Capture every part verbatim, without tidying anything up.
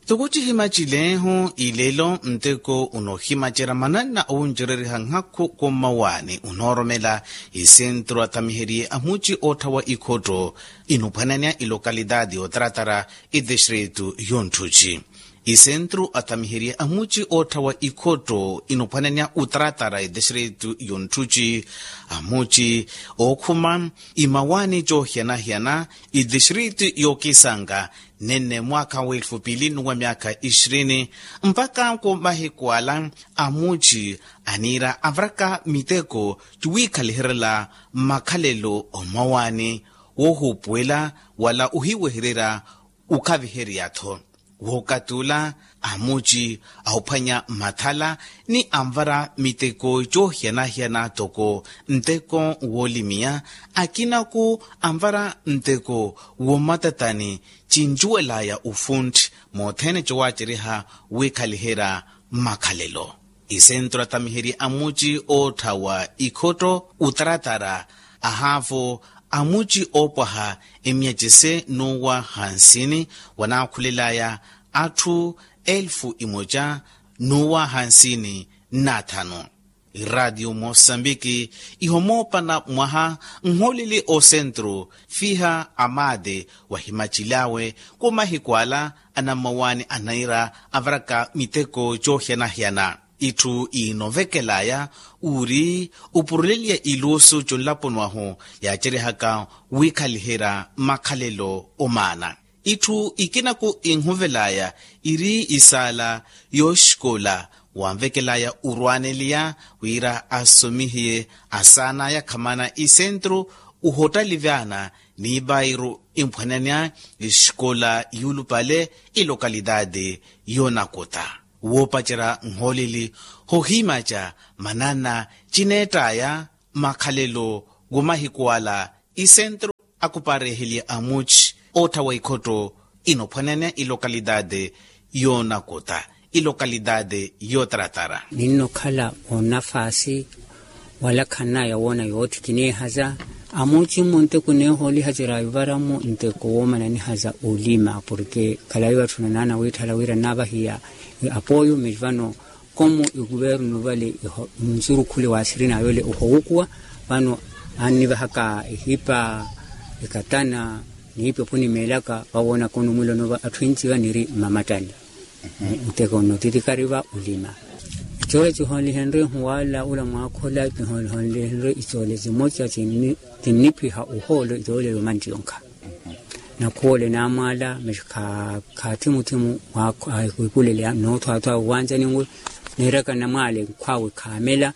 Toko cihimacileeho ilelo nteko unoohimacerya mananna owuncereriha nhakhu khummawani unooromela isentru athamiheriye amuci ootthawa ikhotto inuphwananya ilokalitaati yootaratara itistritu yonttuci. Isentru athamiheriye amuci ootthawa ikhotto inuphwananya utaratara itistritu yonttuci amuci ookhuma imawani coohiyana-hiyana itistritu yookisanga nenne mwaakha wa elfu pili nnuwa myaakha ixirini mpakha khumahiku ala amuci aniira avaraka miteko cuwiikhaliherela makhalelo omawani woohuupuwela wala ohiwehererya okhaviherya-tho. Wookatula amuci ahuphwanya mathala ni anvara miteko coohiyana-hiyana toko nteko woolimiya akinaku anvara nteko woomatatani cincuwelaya ofuntti mothene cowaaceriha wiikhaliherya makhalelo. Isentru athamiheriye amuci ootthawa ikhotto utaratara ahaavo amuci oopwaha emiyacise nuuwa hansini wanaakhulelaya atthu elfu imoca nuuwa hansini nnathanu. Iraatiyo mosambiki ihomoopana mwaha nholili osentru fiha amaate wahimacil'awe khumahiku ala anammawaani anaira avaraka miteko coohiyana-hiyana. Itthu iinovekelaya uri opuruleliya iluusu conlaponi wahu yaacerihaka wiikhaliherya makhalelo omaana. Itthu ikinaku inhuvelaya iri isaala yooxikola wanvekelaya orwaaneliya wira asomihiye asaanaya khamana isentru ohottalivaana ni ipairu imphwananya exikola yuulupale ilokalitaati yoonakuta woopacerya nhoolili hohimaca manana cineett'aya makhalelo woomahiku ala isentru akupareeheliye amuci ootthawa ikhotto inophwananya ilokalitaati yoonakuta ilokalitaati yootaratara. Ninnokhala onafaasi wala khanaya woona yootthi kineehaza amuci mmo nteko neehoolihacerya ivaramu nteko woomananihaza olima porke khalayi vatthu nanaana wiitthala wira nnaavahiya apoyo mivano komu ikuvernu vale nsurukhule waasirina yole ohowukuwa vano annivahaka ehipa ekatana niipi opunimeelaka vawoonaka onumwiloni ova atthu enci vaniri mmamattani. Nteko nnotitikari va olima coole cihoolihenrye ehuwala ula mwaakhola cihoolihenrye icoole cimoca cinniphiha ohoolo icoole yomantti yonkha. Nakhuwole naamwaala mexi khaathimuthemu. Wipulele noothwaathwa owanjani nwe neeraka namwaale nkhwaawe khaamela.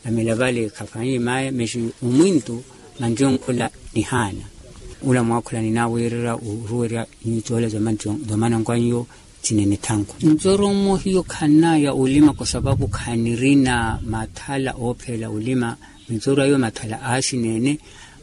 Namela vale khafanyiye maye mexi omwintu mantti yonkhola nihaana. Ula mwaakhola ninaawiirerya oruwerya nyuwo coola za manankwaniyo cinene thanku. Ncoro mmo hiyo khanaya olima kwa sapapu khanirina mathala oopheela olima. Ncoro ayo mathala aaxineene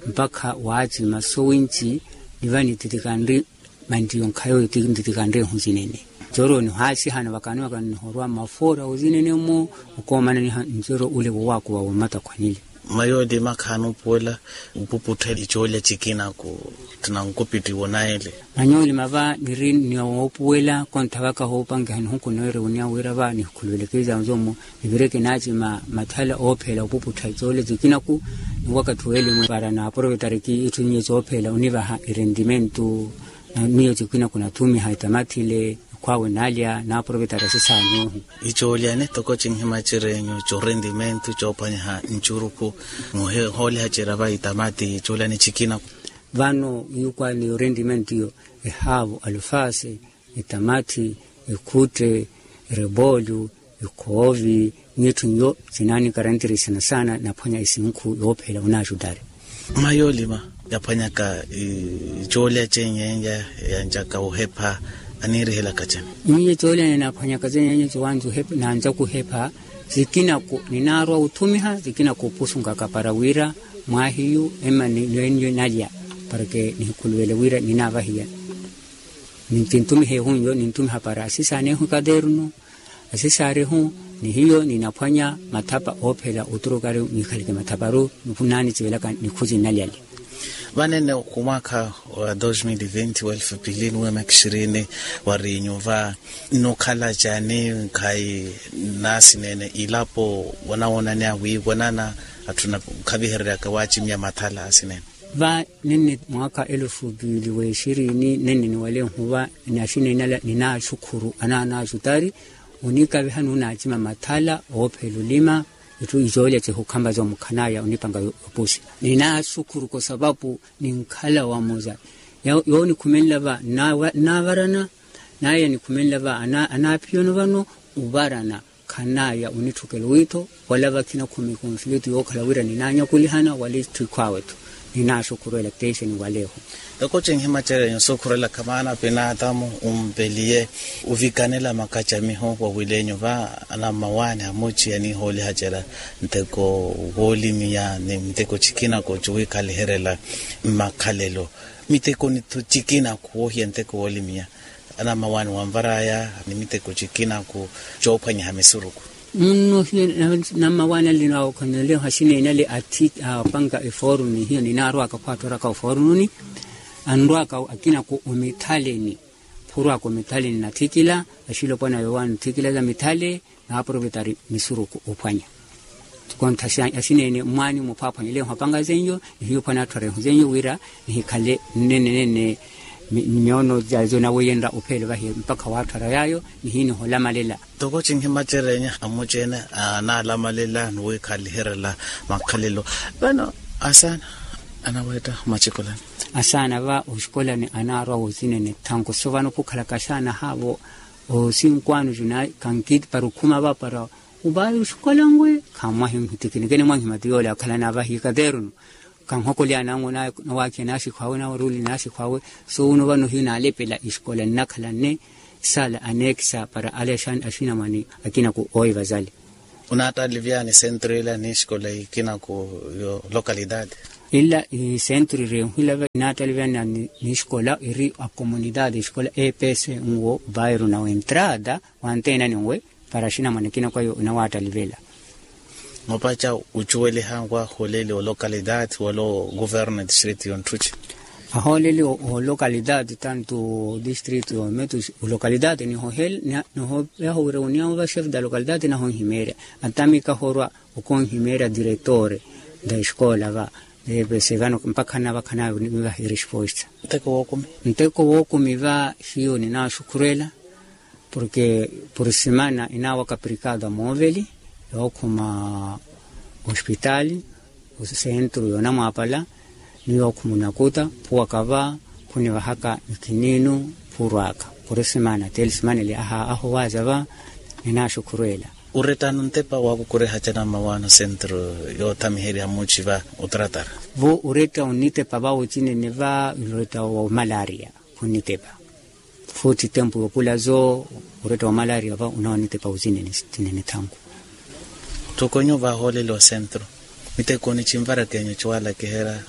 mpakha waacima sowinci niva nititikanri mantti yonkhayo ntitikanri ehu cinene. Ncoro nihaasihana vakaniwakani nihorwa mafoora ozinene mmo okoomananiha ncoro ule wowaakuva woomatakhwanile. Mayoolima khaanoopuwela opuputtha icoolya cikina ku tinankupittiwo naele. Manyoolima va niri ni woopuwela kontha vaka hoopankiha nihuku noore oniya wira va nihikhuluweleke izaanzo mmo nivire kinaacima mathala oopheela opuputtha icoolya cikina ku ni wakathi weelimo para naaprovetariki itthu nyuwo coopheela onivaha irentimentu. Miyo cikina ku nathumiha etamathile ekhwaawe naalya naaprovetara sisaani ehu. Icoolya ni toko cinhima cirenyu corentimentu coophwanyiha ncurukhu muhooliha cira va itamati coolya ni cikina. Vano yukwani yorentimentu yo ehaavo alufasi, etamathi, ekhutte, erepoolyo, ekhoovi, n'itthu nyo sinaanikarantirisa sana sana naphwanya isinkhu yoophela onaaxutari. Mma yoolima yaphwanyaka icoolya cenyeenya yancaka ohepha aniirihelaka cene? Miyo coolya ninaphwanyaka cenyeenya cowanza ohepha naancaku ohepha. Cikinako ninaarwa othumiha cikinako opusunkaka para wira mwaahiyu emmani nwenyu nalya para ke nihikhuluvele wira ninaavahiya. Ninthumiha ehunyo ninthumiha para asisaanehu ekaternu. Asisaarehu ni hiyo ninaphwanya mathapa oophela oturukari niikhaleke mathaparu. Nikhunanicivelaka nikhuci nnalyali. Vanene khumwaakha wa dos mil e vinte wa elfu pili nuwemekhixirini, wariinyu va nukhala cani nkhayi? Naasineene ilapo wanawoonani awiivo nana atthu nakhavihereryaka waacimiya mathala asineene. Va nenne mwaakha elufu piili w'exirini nenne niwaleehu va naxineenala ninaaxukhuru anaana axutari onikaviha nunaacima mathala oophela olima. Itthu icoolya cehukhamba zoomukhanaaya onipanga yopusi ninaaxukhuru kosapapu ninkhala wamuza. Yonikhumenla va nnaavarana naya nikhumenla va anaaphiyono vano ovarana. Khanaya onitthukela owiitho wala vakhi nakhumi konflito yookhala wira ninaanyakulihana wala itthu ikhwaawe-tho. Ninaaxukhurwela teixe niwaleeho. Toko cinhimacerenyu osukhurwelaka maana pinaatamu umpeliye ovikanela makacamiho wawilenyu va anammawaani amuci anihoolihacerya nteko woolimiya ni miteko cikinako ciwiikaliherela mmakhalelo miteko nitho cikinako woohiya nteko woolimiya anammawaani wanvaraya ni miteko cikinako coophwanyaha misuruku. Munno hiyo nammawaani ale nawokhoneleho axineene ale athi apanka efooruni hiyo ninaarwaka khwaattoraka ofoorununi anrwaka akinako omithaleni. Phurwaka omithaleni nathikila axilopwana yoowaani othikila za mithale naaprovetari misuruku ophwanya. Kontha axineene mwaani muphwaphwanya leeho apanga zenyo nihiyo ophwanya atthu areeho zenyo wira nihikhale nnenenene. Myoono yazo naweyenrya ophele vahi mpakha waatthara yaayo nihiniholamalela. Toko cinhimacerenya amuci-ene anaalamalela ni wiikhaliherela makhalelo. Vano asaana anaweetta macikolani. Asaana va oxikolani anaarwa wozinene thanku so vano khukhalaka asaana haavo. Osinkwano juna kankiti para okhuma va para ovayi oxikola ngwe khammwahi nhitikinike nimwahimati yoole akhalana vahi kateerunu. Kanhokolyana angu nawaakhiya naaxikhwaawe nawaruli naaxikhwaawe. So wuno vano hiyo naalepela exikola nnakhala nne sala anekisa para ale axinamwane akina ku oivazali. Onaattalivyani sentro ila ni exikola ikina ku yo localidade? Ila isentro ireehu ila va inaattalivyana ni exikola iri a comunidade exikola epese nwo vairu na wentrada. Wanteenani nwe para axinamwane akina kwayo inawaattalivela. Mapaca ocuweliha nwaholeli olocalidade wala ogoverno distrito yonthuci? Ahooleli olocalidade tanto distrito yometu olocalidade nihohel nihoyaho wira oniyawo va chef da localidade nahonhimeerya. Atamika horwa okonhimeerya diretore da escola va. Epese vano mpakha navakhana nivaha eresposta. Nteko wookumi. Nteko wookumi va hiyo ninaaxukhurwela. Porke puri simana inaawaka prikado amooveli yookhuma ospitali osentru yoonamwaapala ni yookhuma onakuta phuwaka va khunivahaka nikininu phurwaka puri simana teli simana eli ahowaaza va. Ninaaxukhurwela. Orettano ntepa waakukureha canammawaano sentru yoothamiherya muuci va otratara. Vo oretta onitepa va ocinene va oretta wa malaria khunitepa. Futi tempu yoopulazo oretta wa malaria va onawanitepa ocinene thanku. Toko nyuva ahooleli osentru miteko ni cinvarakenyu ciwalakiherya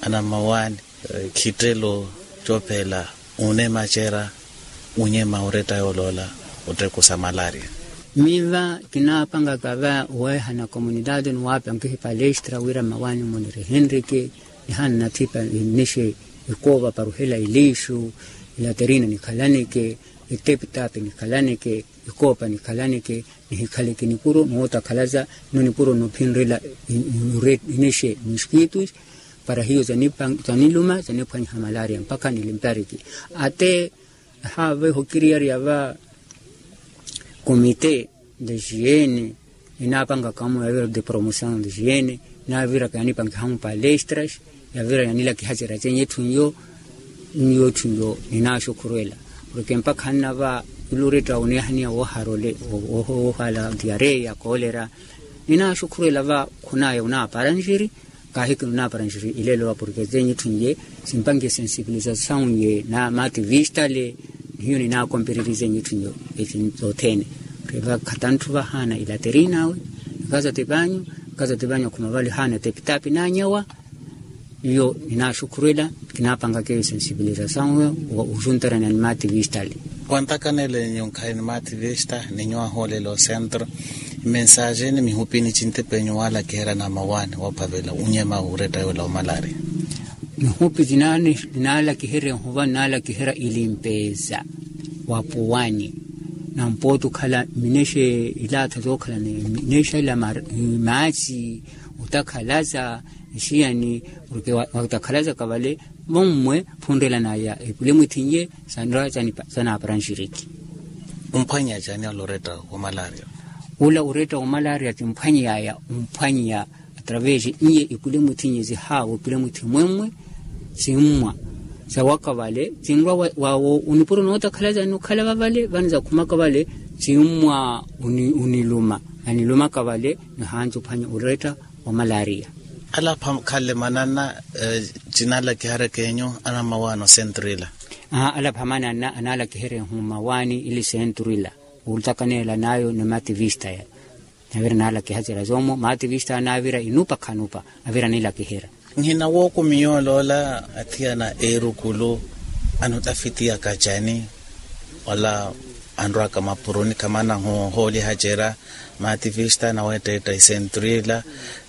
anammawaani khittelo coophela onemacerya onyema oretta yooloola otteko sa malaria. Miva kinaapangaka va oweehana comunidade ni waapankihi palestra wira mmawaani muniri henrike. Nihana nathipa nnixe ikoova para ohela eliixu ilaterina nikhalaneke etepitapi nikhalaneke ikoopa nikhalaneke nihikhaleke nipuro nootakhalaza nno nipuro nophinrela inixe mosquitos para hiyo zaniluma zaniphwanyiha malaria mpakha nilimpariki. Ate haava ehokiriyariya va comite de higiene inaapangaka amu yavira de promotion de higiene inaviraka yanipankiha amu palestras yavira yanilakihacerya cenye etthu nyo. Nyo etthu nyo ninaaxukhurwela porke mpakha nnava ila oretta oneehaniya wooharole woohala diareya koolera. Ninaaxukhurwela va khunaya onaapara nxiri kaahikina onaapara nxiri ilelo va porke zenye etthu nye simpankihe sensibilizasawu nye na mativistale. Nihiyo ninaakompererizenye etthu nye eci zothene. Porke va khatanthu vahaana ilaterina awe nikazati vanyu nikazati vanyu akhuma vale haana etepitapi naanyawa. Iyo ninaaxukhurwela kinaapangaka eyo sensibilizasawu oxuntarana ni mativistale. Wantakanele nyu nkhayi ni mativista ni nyu ahoolele osentro imensaje ni mihupini cintepe nyu waalakiherya na mawaani woophavela unyema oretta yoola omalaria. Nihupi zinaalakiherya ehuva nnaalakiherya ilimpeza wa puwani. Nampooti okhala minexa ilaatha zookhala ni minexa ila maatsi otakhalaza. Nxiyani porke watakhalaza kavale vommwe phunrela naya epule mwithinye sanra sanaapara nxiriki. Umphwanyeya caani ola oretta wa malaria? Ola oretta wa malaria timphwanyeyaya umphwanyeya atravesi iye ipule mwithinye zihaavo ipule mwithi mwemmwe. Simmwa sawaka vale tinrwa wawo unipuro nootakhalaza nukhala vavale vanizakhumaka vale. Simmwa uniluma anilumaka vale nihanji uphwanya oretta wa malaria. Alapha khalle mananna tinaalakiherya keenyu anammawaano centro ila? Alapha mananna anaalakiherya ehu mmawaani ili centro ila. Olutakaneela nayo ni mativista ya navira naalakihacerya zoomo mativista anaavira inupa khanupa avira anilakiherya. Nhina wookumi yooloola athiyana eerukulu anutafitiyaka cani? Ola anrwaka mapuruni khamana hoolihacerya mativista anaweettetta isentru ila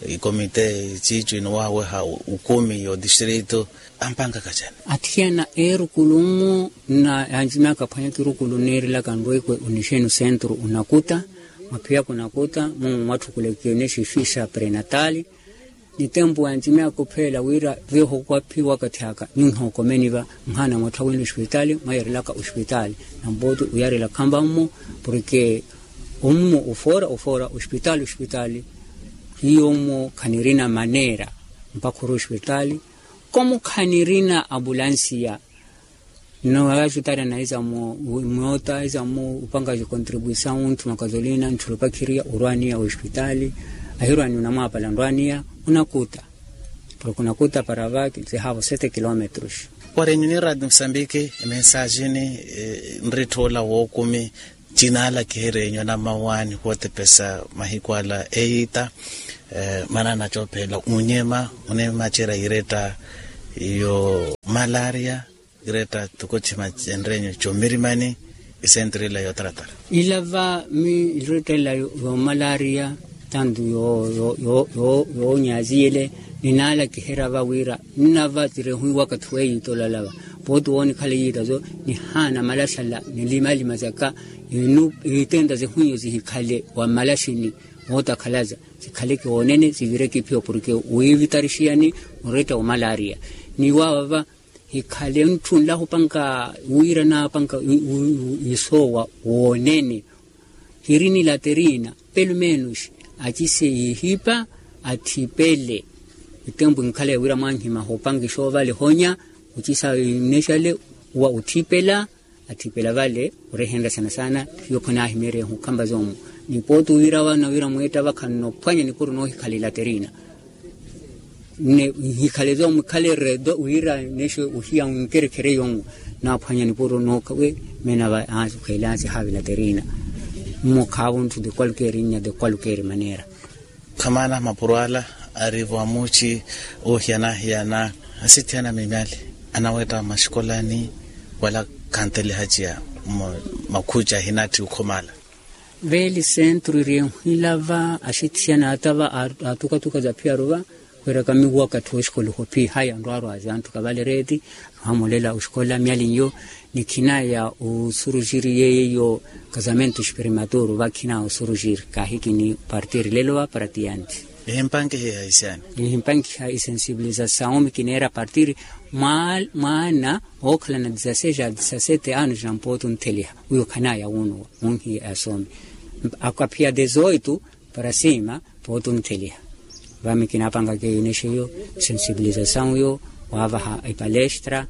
ikomite iciici inuwahaweha ukumi yo distrito ampangaka cani? Athiyana eerukulu mmo na yanjimyaka aphwanya kirukulu nniirilaka nrwekwe unixenu sentru unakuta mwaphiyaka unakuta mumu mwatthukuleke nexifixa prenatali. Ni tempu yanjimyaka opheela wira veho kwaphi wakathi aka nyuhi okomeni va nhaana mwatthawini ospitali mwayarilaka ospitali. Nampooti uyarela khamba mmo porke ommo ofoora ofoora ospitali ospitali. Hiyo mmo khanirina maneera mpakha ori ospitali komo khanirina abulansiya. Nno vaka ospitali anaiza mmoota aiza mmo opanga contribuisawu ntthu makazolina ntthu lupakhiriya orwaniya ospitali. Ahirwaniya onamwaapala nrwaniya onakuta porke onakuta para vaki zihaavo sete kilometros. Wari enyu ni radio mosambiki emensajini nritthu ola wookumi tinaalakiherya enyu anammawaani wootepesa mahiku ala eyiita. Maana anacoophela unyema onemacerya iretta yo malaria iretta tukuchima cenrenyu comirimani isentru ila yotaratara. Ila va mi iretta ila yo malaria tantu yo yo yo yo yoonyaziyele ninaalakiherya va wira nnava tirehuwi wakathi weeyiita olala va pooti woonikhala eyiita zo nihaana malaxala nilimalima zaka inu itenta zihunyu zihikhale wa malaxini mootakhalaza zikhaleke woonene zivireke iphiyo porke wiivitarixiyani oretta wa malaria. Ni waava va hikhale ntthunlahu opanka wira naapanka isoowa woonene hiri ni laterina pelo menos acise yihipa athipele. Itempu inkhala ya wira mwanhima hoopankixa ovale honya ocisa inexale wa othipela athipela vale orehenrya saana saana. Hiyo khonaahimeerya ehu khamba zoomu ni pooti owira vano wira mweetta vakhanno ophwanya nipuro noohikhala ilaterina. Nne nhikhale zoomu khale redo wira nexe ohiya nkerekhere yoomu naaphwanya nipuro nooka we meena va ansi khweele ansi haava ilaterina. Mmo khaavo ntthu de qualquer nnya de qualquer maneera. Khamaana mapuro ala ari vamuci oohiyana-hiyana asithiyana mimyali anawetta maxukolani wala khantelihaciya makhuci ahinatthi okhomala. Veeli sentru iri enhwilava axithiyana atava atukatuka za phiyaru va khwiiraka miwaka tthi oxikoliho phi haya nrwarwazi anthu kavale reeti. Nuhamolela oxikola myalinyo ni khina ya osuruxiri yeeyo kasamento xiperimaturu va khina osuruxiri kaahikini partiri lelo va paratiyanti. Ehimpankiha isensibilizasawu mi kineera partiri mwaana ookhalana disasete anos na mpooto ntheliha wiyo khanaya wunuwa munhi asome akaphiya dezoito para sima pooto ntheliha. Vami kinaapangaka eyo inexeyo sensibilizasawu yo waavaha epalestra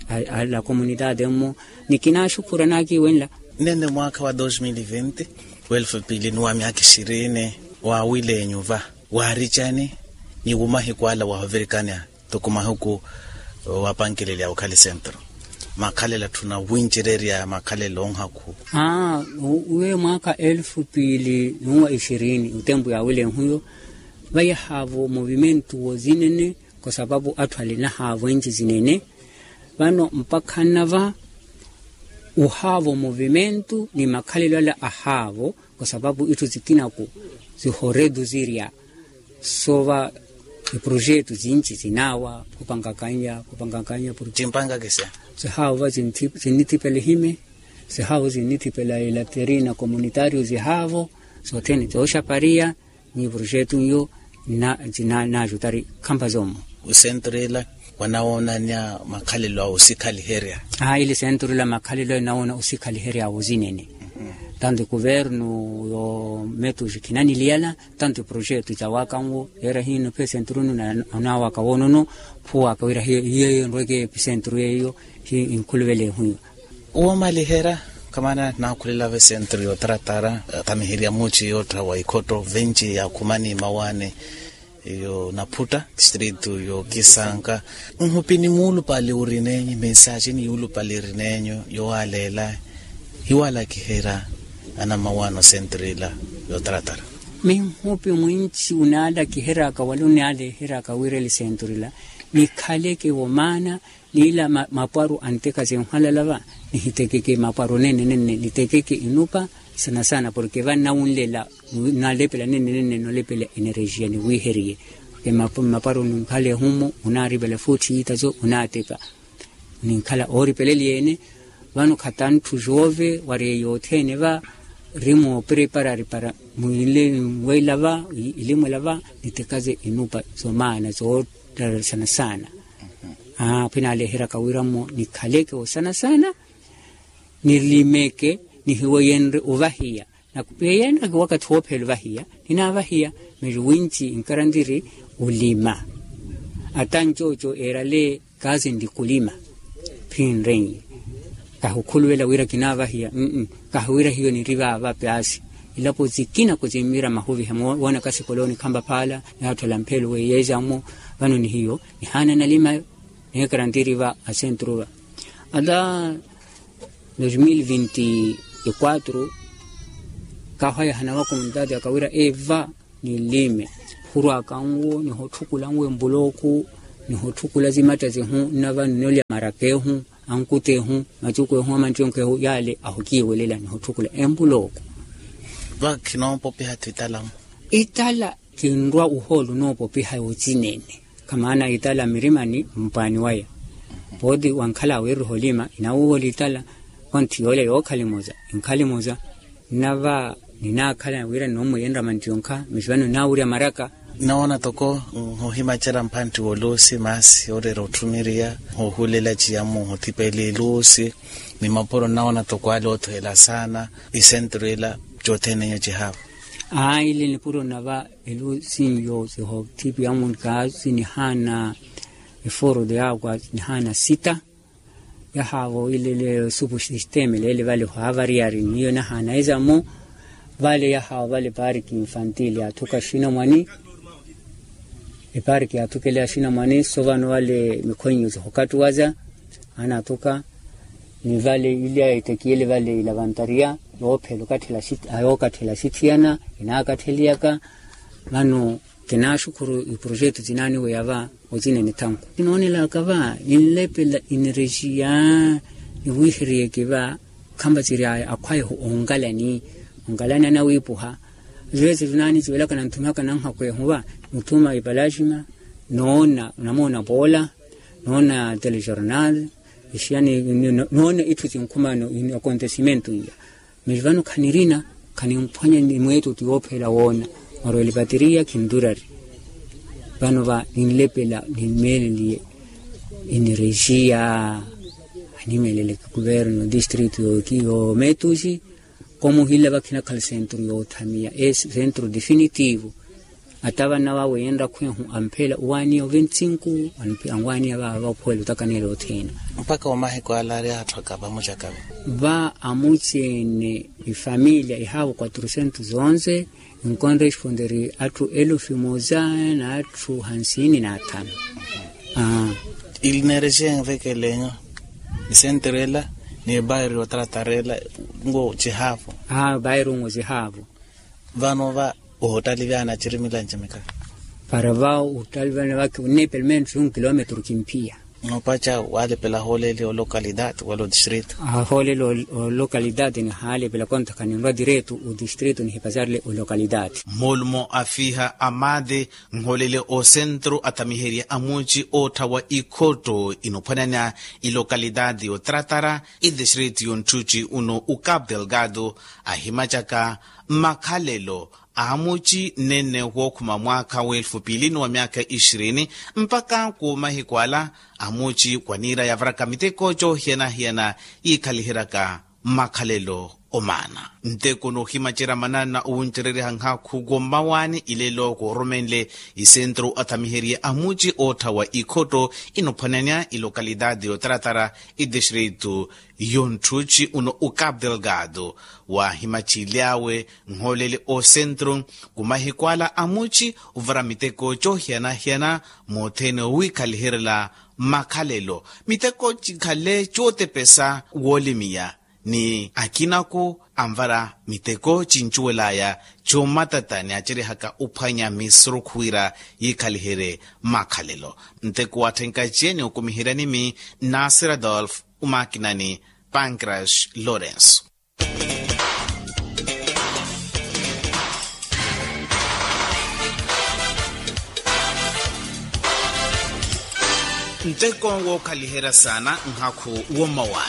ala komunitade mmo ni kinaaxukhura naakiwenla. Nene mwaakha wa dos mil e vinte welfu pili nuwa myaakha ixirini waawile enyu va waaricani ni wumahiku ala wahovirikani toko mahiku wapankelelya okhali sentro makhalela tthuna wincererya makhalela onhaku. Aa uwe mwaakha elfu piili nuwa ixirini otempu yaawilenhuyo vayahaavo movimentu wozinene kwa sapapu atthu alinahaavo enci zinene. Vano mpakha nnava ohaavo movimentu ni makhalelo ala ahaavo kwa sapapu itthu zikinaku zihoreduzirya. Sova Iprojetu sinci sinaawa khupangakanya khupangakanya. Cimpangakisya. Sihaawo va sinnithipela ehime, sihaawo sinnithipela ilaterina komunitario sihaawo, sothene sooxapariya. Ni projetu nyo na na na jutari khampa zomo. Osentru ila wanawoonanya makhalelo a osikhaliherya. Aa ili sentru ila makhalelo anawoona osikhaliherya awo zinene. Tanto ekuvernu yo metuxi khinaniliyala tanto eprojetu cawakanwo yeera hino phe sentru nu. Onawaka woonono phuwaka wira hiyo hiyo nrweke episentru yeyo. Hi inkhuluvela ehu iyo. Woomaliherya kamaana naakhulela ve sentru yotaratara. Tamiherya muci yoottha wa ikhotto venci yaakhumani mawaani yo naphutta distritu yo kisanka. Nhupi ni muulupale uri neenyu mensaxi ni yuulupale iri neenyu yowaaleela hiwaalakiherya anamawaano sentru ila yotaratara. Minhupi mwinci unaalakiheryaka wala unaaleheryaka wira eli sentru ila nikhaleke wo maana. Niila mapwaru anteka zinhwalala va nihitekeke mapwaru nene nene nitekeke inupa sana sana porke va nnawunlela. Nalepela nene nene nolepela enerejiya niwiheriye porke mapwaru ninkhala ehumu unaaripela futhi itaso unaateka. Ninkhala ooripeleliye-ene vano khatanthu joove wari eyo othene va ri moopreparari para mwile nwela va ilimwela va nitekaze inupa zomaana zoottararisana saana. Aa khwinaaleheryaka wira mmo nikhaleke osana saana nilimeke nihiweyenrye ovahiya. Nakupeyenrye wakathi woophela ovahiya ninaavahiya. Miri winci inkarantiri olima ata ncooco eerale kaasi nri kulima. Phinrenye kahukhuluvela wira kinaavahiya. Kahiwira hiyo niri vaava paasi ilapo sikina kusimmira mahuviha moona kasikolooni khampa phaala. Naatthola mphelo weiyeeza mmo vano ni hiyo nihaana nalimayo. Neekarantiri va asentru va ata dos mil vinti e quatro kahwaya hanawa komunitati akawira eva nilime. Hurwaka nwo nihotthukulanwo empulooku nihotthukulanwo zimatta zihu nnava nnolya maraka ehu ankuta ehu macuku ehu amanttiyonka ehu yaale ahukiiwelela nihotthukulanwo empulooku. Va khinoopopiha titalamu itala kinrwa ohoolo onoopopiha ocinene. Khamaana itala mirimani mpwaani waya pooti wankhala awiiriha olima inawuuwela itala. Konthi yoolya yookhalimoza inkhalimoza nnava ninaakhala wira ninoomweyenrya manttiyonka misi vano ninaawurya maraka. Nnawoona toko nhohimacela mphantti woluusi maasi oreera otthumiriya nhohulela ciyamu nhothipela eluusi ni mapuro nnawoona toko ale othweela saana. Isentru ila cothene nyo cihaavo. Aa ili nipuro nava eluusi nyo sihothipiyamu kaasi nihaana eforo de agua nihaana sita. Yahaavo ile supu sisteme leele vale hwaavariyari niyo nahaana ezamo. Vale yahaavo vale pariki infantil yaathuka xinamwani. Epariki yaathukela xinamwani so vano vale mikhonyo zihokattuwaza anaathuka. Ni vale ilya etekiyele vale ilavantariya yoophela okatthela yookathela sithiyana inaakatheliyaka. Vano kinaaxukhuru iprojetu cinaaniweya va ocinene thanku. Kinoonelaka va ninlepela enerejiya niwiheriyeke va. Khampasiri akhwayehu onkalani onkalani anawiipuha. Vesi vinaaniciwelaka nanthumaka nanhakwehu va muthuma ipalaxima noona namoona poola noona telejornal ixiyani noona itthu cinkhumano. Akontesimentu iya miri vano khanirina khanimphwanya nimweetutu yoophela woona. Mwarweli pateriya khinturari vano va ninlepela nimeeleliye enerejiya. Animeelele kuverno distritu yoometuxi komuhila vakhinakhala sentru yoothamiya e sentru definitivo. Ata vana vawe yenrakhwehu amphela owaaniya oventinku anwaaniya vava vaphuwela otakaneela othina. Mpakha omahiku ala ari atthu akava amucakava. Va amuceene ifamilia ihaavo quatrocentos onze. Inkonresponderi atthu elufi muza n'atthu hansini n'athanu. Aa. Ili neerexeya envekelenyo ni senterela ni bairru otratarela ngo cihaavo. Aa bairru ngo cihaavo. Vano va ohottalivyana ciri milanci mika. Para va ohottalivyana vaki onne pelo menos un kilometro kimphiya. Noopaca waalepela ahoolele olokalidade wala odistrito. Ahoolele olokalidade nihaalepela kontakha ninrwa direto odistrito nihipazarele olokalidade. Moolumo afiiha amaade nhoolele osentru athamiherye amuuci ootthawa ikhotto inophwananya ilokalidade yotratara idistrito yonttutti uno ukapu delgado ahimacaka mmakhalelo amuci nene wookhuma mwaakha w'elfu piili ni wa myaakha ixirini mpakha khuwo mahiku ala amuci khwaniira yavaraka miteko coohiyana-hiyana yiikhaliheryaka mmakhalelo omaana. Nteko noohimacerya manana owuncereryaha nhaakhu koommawani ilelo koorumenle isentru athamiherye amuci ootthawa ikhotto inophwananya ilokalidade yotratara idistrito yonttuci uno ukapu delgado waahimaciliyawe nhoolele osentru kumahiku ala amuci ovara miteko coohiyana-hiyana moothene owiikhaliheryela mmakhalelo miteko cikhale cootepesa woolimiya ni akinako anvara miteko cincuwelaya coomatata ni acerihaka ophwanya misurukhu wira yiikhaliherye mmakhalelo. Nteko waatthenkace ni okumiheryani mi nasir adolf omaakinani pancras lawrence. Nteko wookhaliherya saana nhaakhu wommawa.